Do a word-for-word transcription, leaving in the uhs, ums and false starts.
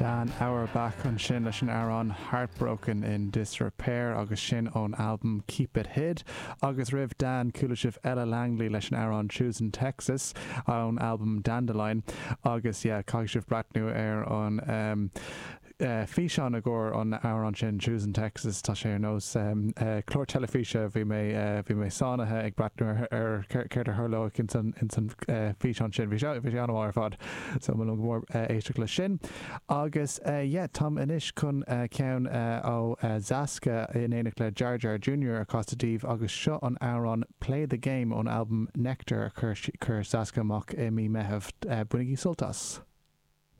Dan Auerbach ansin leis an amhrán Heartbroken in Disrepair agus sin ón albam Keep It Hid agus roimh Dan chuala sibh Ella Langley leis an amhrán Choosing Texas ón albam Dandelion agus yeah, caithfidh sibh breathnú ar an um, uh, físeán i gcomhair an amhrán sin Choosing Texas tá sé ar nós um, uh, clár teilifíse bhí mé uh, bhí mé sáinnithe ag breathnú ar ar céard a tharlódh in san in san uh, físeán sin bhí sé bhí sé an-mhaith ar fad so mo mór uh, éisteacht le sin agus uh, yeah, táim anois chun uh, ceann uh, ó uh, Zaska in éineacht le Jar Jar Jr. a chasadh daoibh agus seo an amhrán Play the Game ón album Nectar a chuir chuir Zaska amach i mí Mheithimh uh, bainigí sult as.